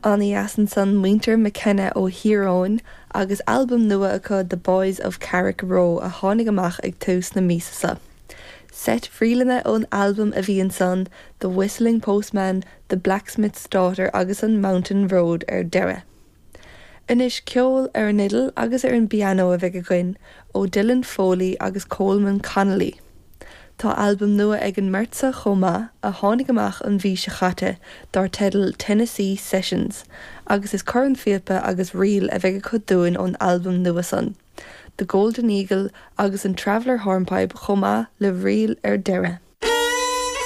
Ana-dheas ansan muintir McKenna ó Thír Eoghain agus albam nua acu The Boys of Carrick Roe a tháinig amach ag tús na míosa seo. Seit ríleanna ón albam a bhí ansan, The Whistling Postman, The Blacksmith's Daughter agus an Mountain Road ar deireadh. Anois ceol ar an fhidil agus ar an bpianó a bheidh againn ó Dylan Foley agus Colman Connolly. Tá albam nua ag an mbeirt seo chomh maith, a tháinig amach an mhí seo chaite, dar teideal Tennessee Sessions, agus is cornphíopa agus ríl a bheidh acu dúinn ón albam nua san, The Golden Eagle agus an Traveller Hornpipe chomh maith le ríl ar deireadh.